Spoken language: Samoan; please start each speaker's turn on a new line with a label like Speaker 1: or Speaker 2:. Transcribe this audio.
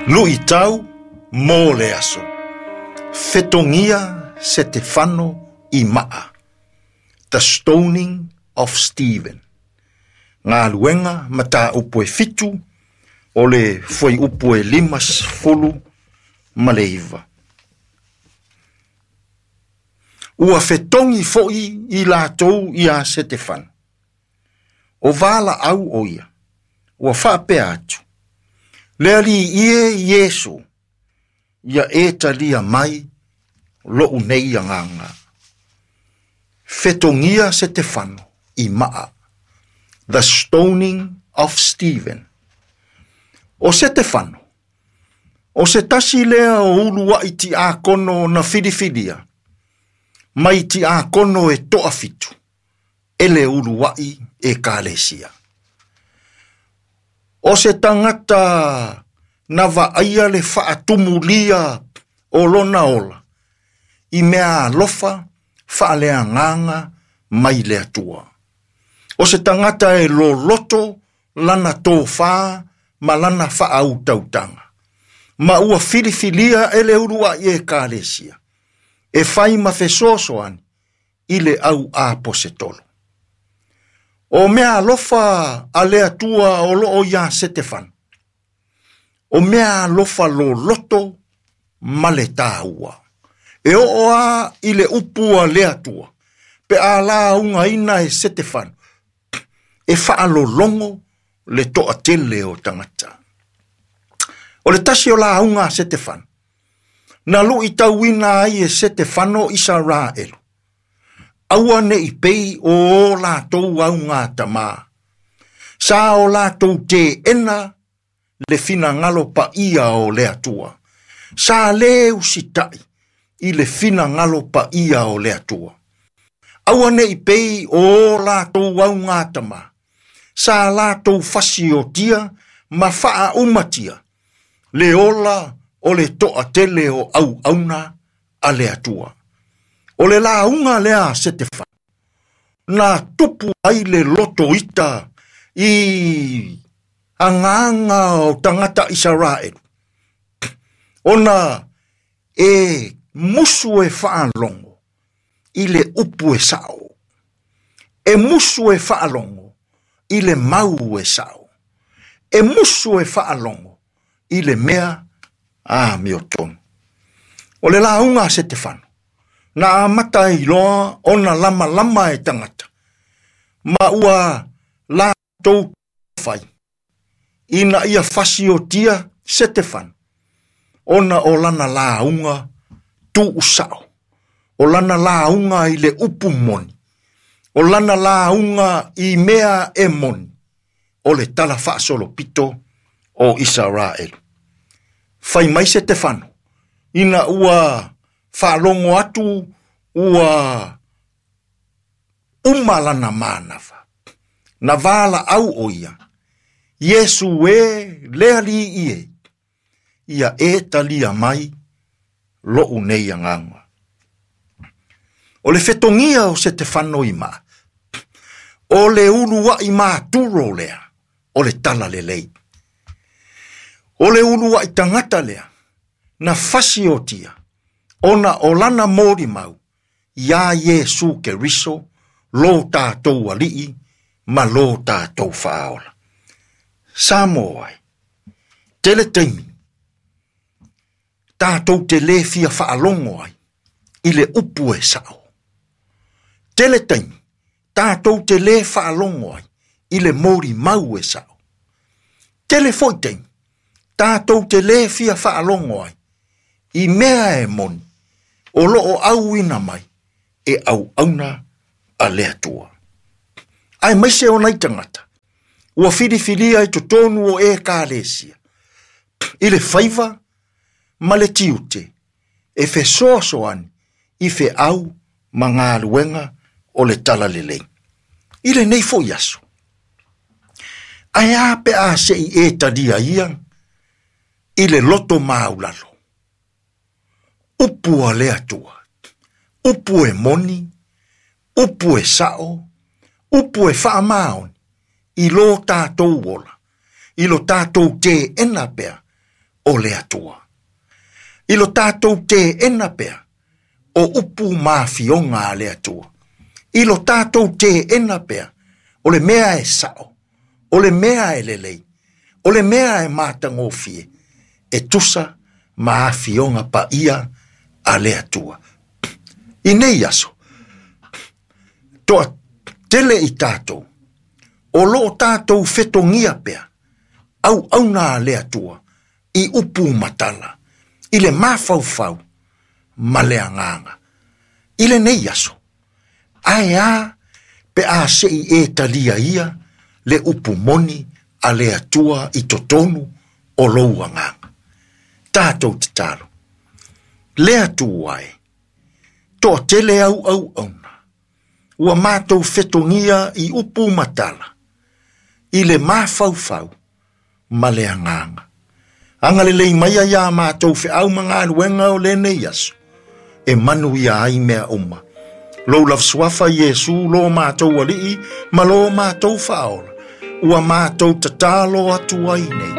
Speaker 1: Luʻitau mo le aso. Fetogia Setefano i maa. The Stoning of Stephen. Galuega Mataupu e 7 o le fuaiupu e 59. Ua fetogi foʻi i latou iā Setefano. O valaau o ia, ua faapea atu, Le Alii e Iesu, ia e talia mai loʻu nei agaga. Fetogia Setefano i maa. The Stoning of Stephen. O Setefano, o se tasi lea o uluaʻi tiakono na filifilia, mai tiakono e toafitu, e le uluaʻi Ekalesia. O se tagata na vaaia le faatumulia o lona ola, i mea alofa faaleagaga mai le Atua. O se tagata e loloto lana tofā ma lana faautautaga. Ma ua filifilia e le uluaʻi Ekalesia, e fai ma fesoasoani i le au aposetolo. O mea alofa a le Atua o loo iā Setefano. O mea alofa loloto ma le tāua. E oo a i le upu a le Atua, pe a laugaina e Setefano, e faalologo le toatele o tagata. O le tasi o lauga a Setefano, na luitauina ai e Setefano Isaraelu. Aua neʻi pei o o latou augatamā. Sa o latou teena le finagalo paia o le Atua. Sa lē usitaʻi i le finagalo paia o le Atua. Aua neʻi pei o o latou augatamā. Sa latou fasiotia ma faaumatia le ola o le toatele o auauna a le Atua. O le lauga lea a Setefano, na tupu ai le loto ita i agaga o tagata Isaraelu, ona e musu e faalogo i le upu e sao. E musu e faalogo i le mau e sao. E musu e faalogo i le mea amiotonu. O le lauga a Setefano, na amata ai loa ona lamalama e tagata, ma ua latou fai ina ia fasiotia Setefano, ona o lana lauga tuusao, o lana lauga i le upu moni, o lana lauga i mea e moni, o le tala faasolopito o Isaraelu. Fai mai Setefano, ina ua faalogo atu ua uma lana manava. Na valaau o ia, Iesu e le Alii e, ia e talia mai loʻu nei agaga. O le fetogia o Setefano i maa, o le uluaʻi maturo lea o le talalelei. O le uluaʻi tagata lea, na fasiotia, ona o lana molimau, iā Iesu Keriso, lo tatou Alii ma lo tatou Faaola. Samoa ai, tele taimi, tatou te lē fia faalogo ai i le upu e sao. Tele taimi, tatou te lē faalogo ai i le molimau e sao. Tele foi taimi, tatou te lē fia faalogo ai i mea e moni o loo auina mai e auauna a le Atua. Aemaise o nai tagata, ua filifilia i totonu o Ekalesia, i le faiva ma le tiute, e fesoasoani i feau ma galuega o le talalelei. I lenei foʻi aso, ae a pe a seʻi e talia ia i le loto maulalo. Upu a le Atua, upu e moni, upu e sao, upu e faamaoni, i lo tatou ola, i lo tatou teena pea o le Atua. I lo tātou teena pea o upu ma afioga a le Atua. I lo tātou teena pea o le mea e sao, o le mea e lelei, o le mea e matagofie, e tusa ma afioga paia a le Atua. I nei aso, toatele i tātou, o loo tātou fetogia pea, auauna a le Atua, i upu matala, i le mafaufau, ma le agaga. I lenei aso, ae a pe a sei e talia ia le upu moni a le Atua i totonu o lou agaga. Tātou tatalo. Le Atua e, toatele au auauna, ua matou fetogia i upu matala, i le mafaufau ma le agaga. Agalelei mai ia mātou feau ma galuega o lenei aso, e manuia ai mea uma. Lou lava suafa Iesu lo mātou alii ma lo mātou faaola, ua mātou tatalo atu ai nei.